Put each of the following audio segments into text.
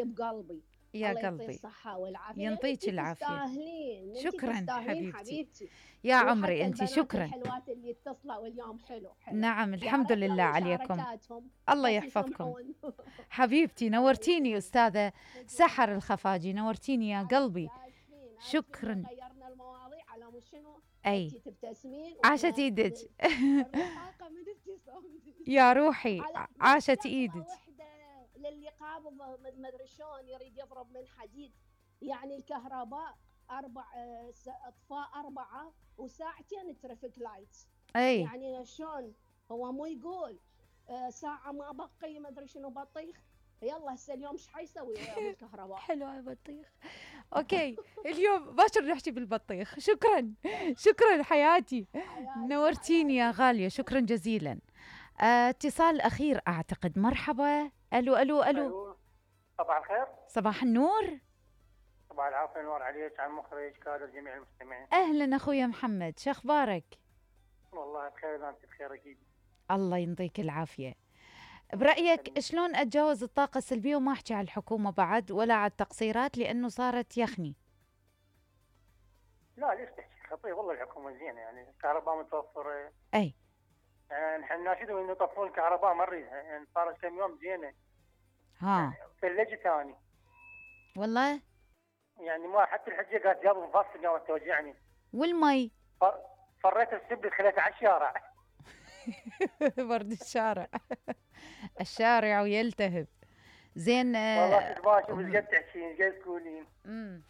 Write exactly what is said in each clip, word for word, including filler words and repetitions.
غالية بقلبي. يا الله قلبي يعطيه الصحة والعافية. ينطيك العافية. تستاهلين، شكرا تستاهلين حبيبتي. حبيبتي. يا عمري انت، البنات شكرا. الحلوات اللي اتصلوا اليوم حلو حلو. نعم الحمد لله عليكم. الله يحفظكم حبيبتي. نورتيني أستاذة سحر الخفاجي، نورتيني يا قلبي. شكرا. غيرنا المواضيع على مش شنو. اي تبتسمين عاشت ايدك. الرقاقة من ابتسامتك يا روحي عاشت ايدك. وحده للي قابض ما ادري شلون يريد يضرب من حديد، يعني الكهرباء اربع اطفاء اربعه وساعتين ترافيك لايتس. اي يعني شلون هو مو يقول ساعه ما بقي ما ادري شنو بطيخ، يلا هسه اليوم ايش حيسوي بالكهرباء؟ حلوه البطيخ. اوكي اليوم باكر نحكي بالبطيخ. شكرا شكرا حياتي، نورتيني يا غاليه، شكرا جزيلا. اه اتصال اخير اعتقد. مرحبا. الو الو الو. صباح الخير. صباح النور. صباح العافيه، نور عليك، على المخرج، كادر جميع المستمعين. اهلا اخويا محمد، شو اخبارك؟ والله بخير، انت بخير اكيد. الله ينطيك العافيه. برأيك شلون أتجاوز الطاقة السلبية وما أحكي على الحكومة بعد ولا على التقصيرات لأنه صارت يخني؟ لا ليش تحكي خطير، والله الحكومة زينة، يعني الكهرباء متوفرة. أي يعني نحن ناشدهم إنه يطفون الكهرباء ما نريدها، يعني صارت كم يوم زينة. ها يعني ثلجة ثاني. والله؟ يعني ما حتى الحجة قالت جاب مفصل قامت توجعني. والمي؟ فر... فريت السب خليتها على الشارع. برد الشارع. الشارع ويلتهب. زين. والله تباشر مش قد تحكين مش قد تقولين. امم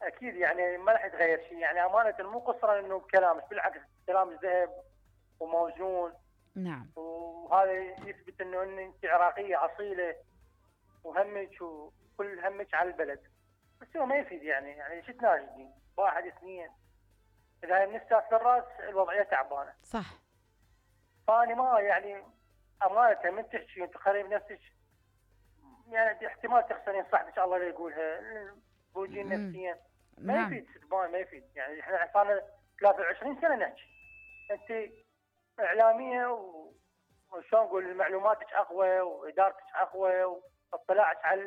اكيد يعني ما راح يتغير شيء، يعني امانه مو قصرا انه بكلامك، بالعكس كلام ذهب وموزون. نعم. وهذا يثبت انه انت عراقيه اصيله وهمك وكل همك على البلد، بس هو ما يفيد. يعني يعني شو تناشدين؟ واحد اثنين اذا من الساس للراس الوضعيه تعبانه. صح. فاني ما يعني امانه من تحكي انت قريب نفسك، يعني احتمال تخسرين صاحبك الله لا يقولها، بوجين نفسيا ما نعم. يفيد ستبان، ما يفيد. يعني احنا صار ثلاثة وعشرين سنه نحكي، انت اعلاميه و... وشلون نقول معلوماتك اقوى وادارتك اقوى واطلاعك على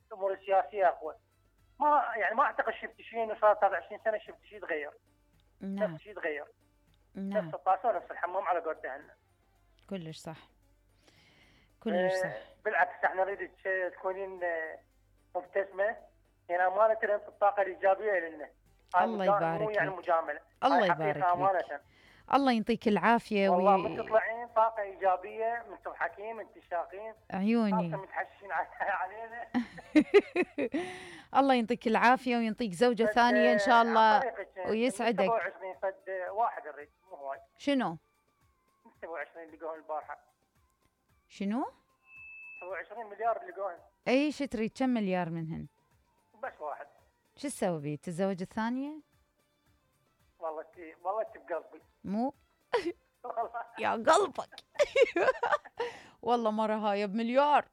الامور السياسيه اقوى. ما يعني ما اعتقد شفت شيء انه صار ثلاثة وعشرين سنه شفت شيء تغير. نعم. نفس شيء تغير. نعم. نفس الطاسه ونفس الحمام على قولتها. كلش صح. كلش صح. أه بالعكس احنا نريدك تكونين مبتسمه، يعني امانه انت الطاقه الايجابيه لنا. الله يبارك مو يعني مجامله. الله يبارك فيك. الله ينطيك العافيه. والله وي... من تطلعين طاقه ايجابيه، من تضحكين، من تشاقين عيوني متحشين علينا. الله ينطيك العافيه وينطيك زوجه ثانيه ان شاء الله ويسعدك. سبعة وعشرين فد واحد الريت مو هواي. شنو؟ سبعة وعشرين لقوهم البارحه. شنو؟ سبعة وعشرين مليار لقوهم. اي شو تريد؟ كم مليار منهن؟ بس واحد. شو تسوي بيه؟ تتزوج الثانيه؟ والله تي والله تي بقلبي. مو يا قلبك. والله مرة هاي بمليار.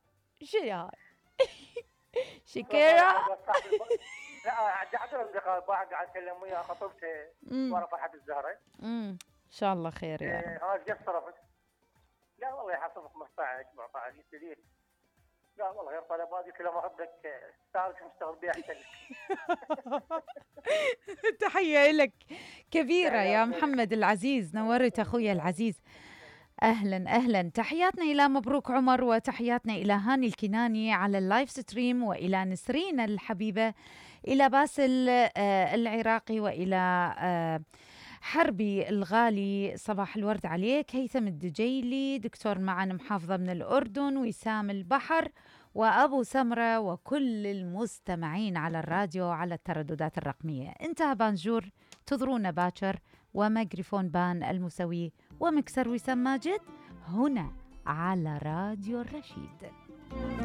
شو هاي؟ شكرا. لا قاعد اصدقاء واحد قاعد اتكلم وياه خطبته ورا فرحة الزهرة. امم ان شاء الله خير يا رب. ها ايش صرفت؟ لا والله يحصل خمسة عشر سبعة عشر يستدير. لا والله غير طلبات، قلت له ما احبك تعرف مشتغل بيها احسن لك. تحية لك كبيرة يا محمد العزيز، نورت اخويا العزيز. اهلا اهلا. تحياتنا الى مبروك عمر، وتحياتنا الى هاني الكناني على اللايف ستريم، والى نسرين الحبيبة، الى باسل العراقي، والى حربي الغالي صباح الورد عليك، هيثم الدجيلي، دكتور معن محافظة من الأردن، وسام البحر، وأبو سمرة، وكل المستمعين على الراديو على الترددات الرقمية. انتهى بانجور، تضرونا باكر، وميكروفون بان المسوي ومكسر وسام ماجد هنا على راديو الرشيد.